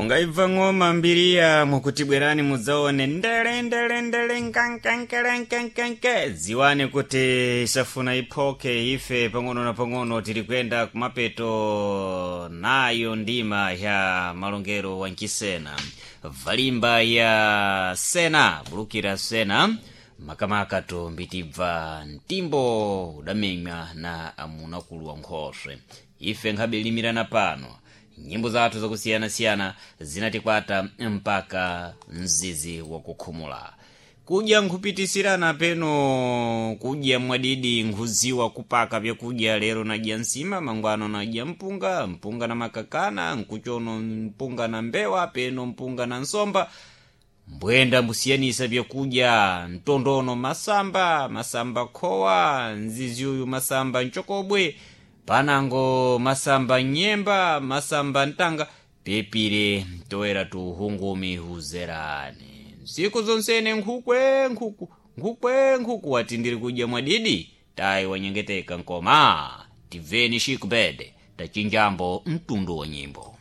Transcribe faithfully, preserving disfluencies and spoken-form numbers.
Ungaibva ng'oma mbiriya mukuti bwerani mudzaone ndele ndele ndele nkankankelenkenkenke, dziwani kuti isafuna iphoke. Ife pang'ono na pang'ono tiri kuyenda kumapeto nayo ndima ya malongero wa nchisena, valimba ya sena bulukira sena makamaka tombitibva mtimbo udamenywa na amunakulu wa nkhoswe. Ife nkhabe limirana pano, nyimbo zathu zakusiyanasiyana zinatikwata mpaka mzizi wakukhumula kudya nkhupitisirana peno kudya mwadidi, nkhuziwa kupaka vyakudya. Lero nadya nsima, mangwano nadya mpunga, mpunga na makakana, nkuchono mpunga na mbewa, peno mpunga na nsomba. Mbwenda mbusiyanisa vyakudya, mtondono masamba, masamba khowa, nzizi uyu masamba nchokobwe, panango masamba nyemba, masamba ntanga, pepire toera tuhungumi huzerani nsiku zonsene nkhukwe nkhuku nkhukwe nkhuku. Wati ndiri kudya mwadidi, tayi wanyengeteka nkoma tibveni shikubede tachinjambo mtundu wa nyimbo.